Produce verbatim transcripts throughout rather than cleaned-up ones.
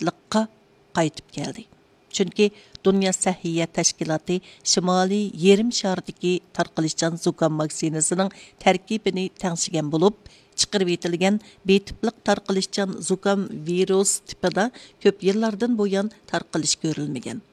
لىققا قايتىپ كەلدى. چۈنكى دۇنيا سەھىيە تەشكىلاتى شىمالىي يېرىم شاردىكى تارقىلىشچان زۇكام ۋاكسىنىسىنىڭ تەركىبىنى تەڭشىگەن بولۇپ، چىقىرىۋېتىلگەن بىر تىپلىق تارقىلىشچان زۇكام ۋىرۇس تىپىدا كۆپ يىللاردىن بۇيان تارقىلىش كۆرۈلمىگەن.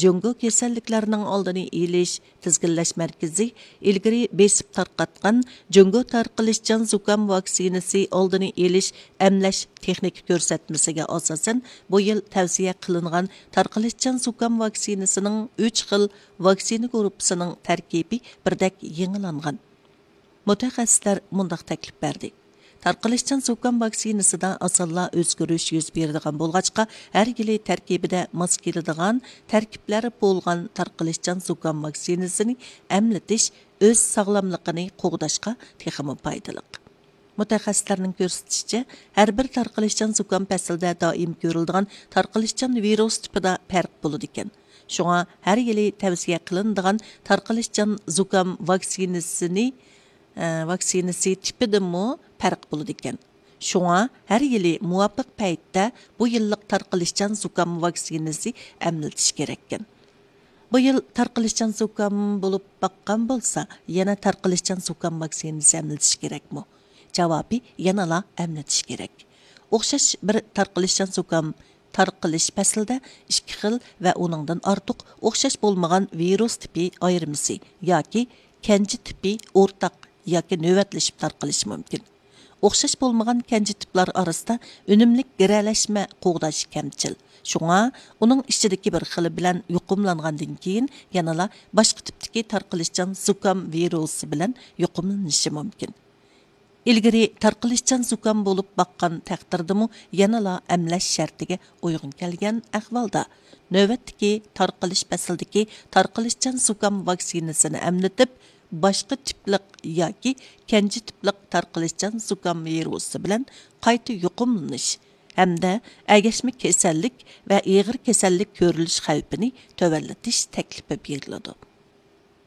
جۇڭگو كېسەللىكلەرنىڭ ئالدىنى ئېلىش تىزگىنلەش مەركىزى ئىلگىرى بېسىپ تارقاتقان جۇڭگو تارقىلىشچان زۇكام ۋاكسىنىسى ئالدىنى ئېلىش ئەملەش تېخنىكا كۆرسەتمىسىگە ئاساسەن، بۇ يىل تەۋسىيە قىلىنغان تارقىلىشچان زۇكام ۋاكسىنىسىنىڭ ئۈچ خىل ۋاكسىنا گۇرۇپپىسىنىڭ تەركىبى بىردەك يېڭىلانغان. مۇتەخەسسىسلەر مۇنداق تەكلىپ بەردى: تارقىلىشچان زۇكام ۋاكسىنىسىدا ئاسانلا ئۆزگىرىش يۈز بېرىدىغان بولغاچقا، ھەر يىلى تەركىبىدە ماس كېلىدىغان تەركىبلەر بولغان تارقىلىشچان زۇكام ۋاكسىنىسىنى ئەملىتىش ئۆز ساغلاملىقىنى قوغداشقا تېخىمۇ پايدىلىق. مۇتەخەسسىسلەرنىڭ كۆرسىتىشىچە، ھەر بىر تارقىلىشچان زۇكام پەسلىدە دائىم كۆرۈلىدىغان تارقىلىشچان ۋىرۇس تىپىدا پەرق بولىدىكەن. شۇڭا ھەر يىلى تەۋسىيە قىلىنىدىغان تارقىلىشچان زۇكام ۋاكسىنىسىنى، ئە، ۋاكسىنىسى تىپىدىمۇ پەرق بولىدىكەن. شۇڭا ھەر يىلى مۇۋاپىق پەيتتە بۇ يىللىق تارقىلىشچان زۇكام ۋاكسىنىسى ئەملىتىش كېرەككەن. بۇ يىل تارقىلىشچان زۇكام بولۇپ باققان بولسا، يەنە تارقىلىشچان زۇكام ۋاكسىنىسى ئەملىتىش كېرەكمۇ؟ جاۋابى، يەنىلا ئەملىتىش كېرەك. ئوخشاش بىر تارقىلىشچان زۇكام تارقىلىش پەسلىدە ئىككى خىل ۋە ئۇنىڭدىن ئارتۇق ئوخشاش بولمىغان ۋىرۇس تىپى ئايرىمىسى ياكى كەنجى تىپى ئورتاق ياكى نۆۋەتلىشىپ تارقىلىشى مۇمكىن. ئوخشاش بولمىغان كەنجى تىپلار ئارىسىدا ئۈنۈملۈك گىرەلەشمە قوغداش كەمچىل. شۇڭا ئۇنىڭ ئىچىدىكى بىر خىلى بىلەن يۇقۇملانغاندىن كېيىن يەنىلا باشقا تىپتىكى تارقىلىشچان زۇكام ۋىرۇسى بىلەن يۇقۇملىنىشى مۇمكىن. ئىلگىرى تارقىلىشچان زۇكام بولۇپ باققان تەقدىردىمۇ يەنىلا ئەملەش شەرتىگە ئۇيغۇن كەلگەن ئەھۋالدا، نۆۋەتتىكى تارقىلىش پەسلىدىكى تارقىلىشچان زۇكام ۋاكسىنىسىنى ئەملىتىپ، باشقا تىپلىق ياكى كەنجى تىپلىق تارقىلىشچان زۇكام ۋىرۇسى بىلەن قايتا يۇقۇملىنىش ھەمدە ئەگەشمە كېسەللىك ۋە ئېغىر كېسەللىك كۆرۈلۈش خەۋپىنى تۆۋەنلىتىش تەكلىپى بېرىلىدۇ.